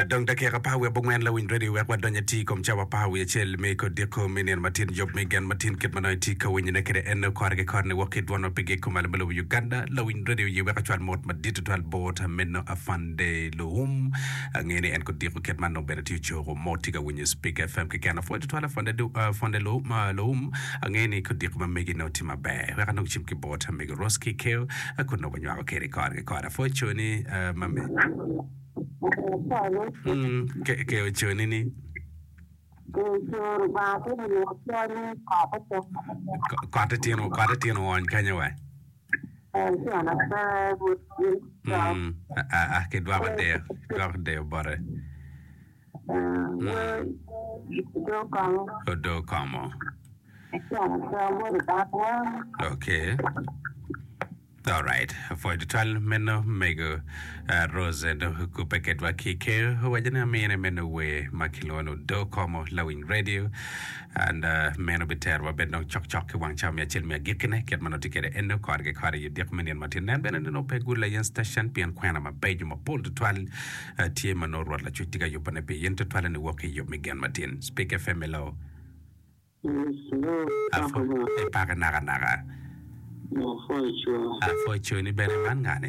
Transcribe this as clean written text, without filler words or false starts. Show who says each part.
Speaker 1: Dong dakika apar wiye abongwen lawiny radio wek wadony atir i kom cawa apar wiye acel me kodiko me nino matin yub me gen matin kit ma nongo itye ka winyone kwede en kore ki kore ni wok ki dwon ma pigi kumalo me lobo Uganda lawiny radio ye wek acwal mot madit tutwal bot meno Afande Luum angeyo ni en kodiko kit man nongo bene tye ocoko mot tye ka winyo Speak FM keken apwoyo tutwal Afande Afande Luum angeyo ni kodiko ma megi nongo tye maber wek anong cim ki bot mego Roski Keo kun nongo wanywako kede kore ki kore apwoyo coni ma me Mm, ke oconi ni. Kotte tino, kotte tino oony kanya wa. Mm, a a ki dwako deyo, dwako deyo bote. Odo komo. Okay. Alright, apwoyo tutwal meno mego Rose dong okubbe kedwa ki ker owaco ni amine meno wer ma kilwongo ni Odo Komo Lawiny Radio and meno biterowa bene dong cokcok ki wang cawa me acel me agikkine kit ma nongo tye kwede eno kore ki kore i odiko me nino matin. Nen bene ni nongo pe gulo aye station pien kwena mabeco mapol tutwal tye ma nongo Rwot Lacwec tye ka yubone pi in tutwalle niwok ki i yub me gen matin. Speak FM hello. Ipake nakanaka. Apwoyo cwani bene man ngani?